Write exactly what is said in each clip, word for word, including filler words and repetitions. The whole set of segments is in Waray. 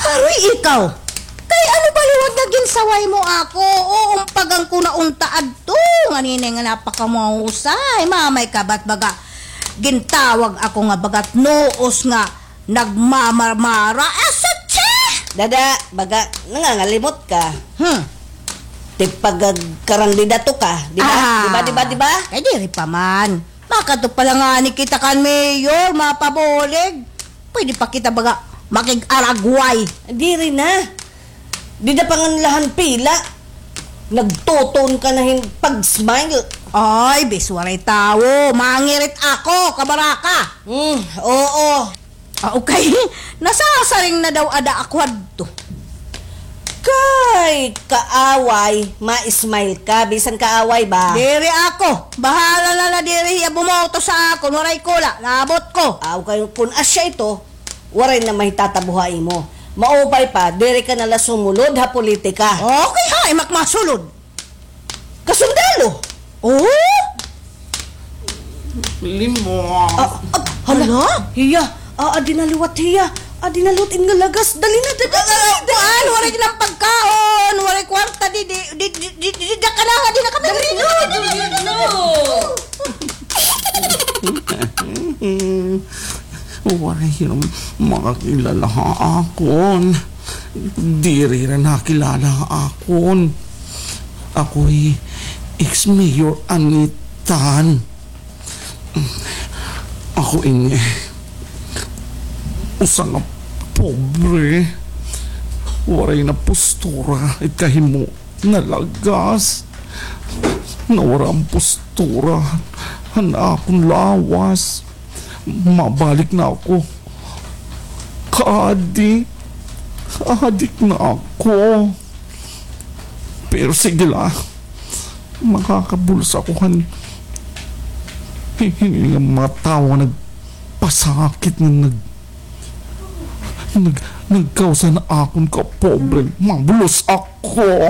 Aroy ikaw! Kay ano ba liwat nga ginsaway mo ako? Uumpagan ko na unta adto. Nganini nga napakamahusay. Mamay ka ba't baga gintawag ako nga bagat nuos nga nagmamarmara? Asatsi! Dada, baga nangangalimot ka. Hmm. Tipagag-, karandidato ka, di ba? Ah. Di ba, di ba, di ba? Kay diri pa man. Makadto pa la ngani kita kan mayor, mapabulig. Pwede pa kita baga makig-aragway. Diri na. Dida pa ngan la han pila. Nagtuton ka na hin pag-smile. Ay, bis waray tawo. Mangirit ako, kabaraka. Hmm, oo. Ah, okay. Nasasaring na daw ada ako hadto. Kay kaaway, ma-smile ka, bisan kaaway ba? Diri ako. Bahala na la diri hiya bumoto sa akon, waray ko la, labot ko. Aw, kay kun asya ito, waray na mahitatabo ha imo. Maupay pa, diri ka na la sumulod ha politika. Okay ha, imak masulod. Kasundalo! Oh? Limo. Ah, ah, hala? Hala? Hiya. Ah, adi na liwat hiya. Adi na liwat in nga lagas. Dali na, dali, dali, dali. Kuan, waray lang pagkaon, waray kwarta, di, di, di, di, di, di, di, ka na, di na kami. Dali, no, no, no, no. Waray hiya makakilala ha akon. Diri hiya nakilala ha akon. Ako hi ex-mayor Anitan. Ako ini usa nga pobre. Waray na postura, ikahimo. Nalagas. Nawara an postura han akon lawas. Mabalik na ako. Kaadi. Adik na ako. Pero sige la. Makakabulos ako han hini nga mga tawo nga nagpasakit nga nag-, nag-, nagkausa na akon kapobre. Mabulos ako.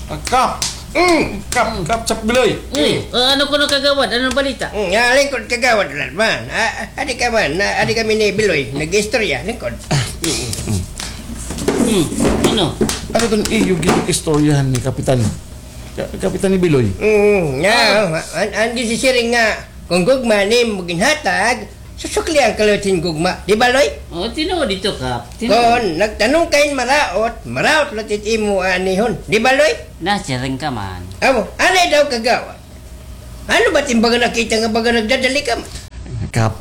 Ah, Kap! Mm, Kap, Kap, Kap Biloy. Uy, ah, ano kuno, kagawad? Ano balita? Mm, ah, lingkod, kagawad, la man. Ah, ah, adi ka man, na, adi kami ni Biloy, nag-istorya, lingkod. Mm. Hmm, ano? Ano iton iyo gin-istoryahan ni Kapitan? Ka-, Kapitan ni Biloy? Mm, nga, ah, an, an gisisiring nga, kon gugma nimo ginhatag, susuklian ka liwat hin gugma. Di ba, Loy? O, tinuod ito, Kap. Tinuod. Kon nagtanom ka hin maraot, maraot la it imo aanihon. Di ba, Loy? Nasiring ka man. Amo, anay daw, kagawad. Ano ba it im baga nakita nga baga nagdadali ka man? Kap,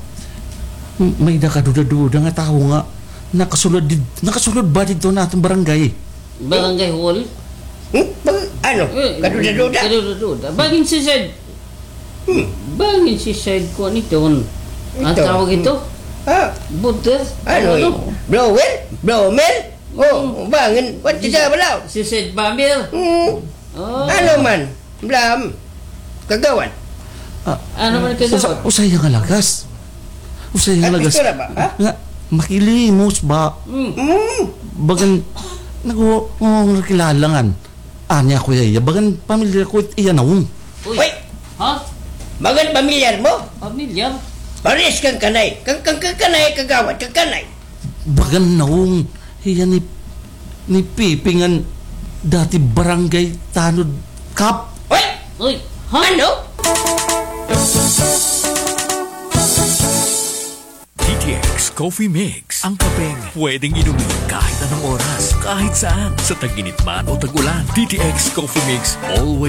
may-ada kaduda-duda nga tawo nga nakasulod did-, nakasulod ba didto han aton barangay? Barangay hall? Hmm? Bag-, ano? Eh, kaduda-duda? Kaduda-duda. Bangin si Sir Hmm. Bangin si Sir kuan iton. An tawag ito? Ah. Butter? Ano? Blower? Blower? Oh, bangin. What is that about? Si Sir Bamir? Hmm. Oh. Ano man? Blam. Kagawad. Ah, ano man, kagawad? Usa-, usa hiya nga lagas. Usa hiya nga lagas. Istorya ba, ha? Nga, makilimos ba? Hmm. Hmm. Bagan, nag-, oh, nakilala ngan. Ania ko hiya, bagan pamilyar ko it iya nawong. Uy. Uy! Ha? Bagan pamilyar mo? Pamilyar? Parehas kan kanay. Kan, kan, kan kanay, kagawad, kan kanay. Bagan nawong hiya ni, ni Pipi ngan dati barangay tanod, Kap. Uy! Uy! Ha? Ano? D T X Coffee Mix, ang kapeng pwedeng inumin kahit anong oras, kahit saan, sa tag-init man o tag-ulan. D T X Coffee Mix, always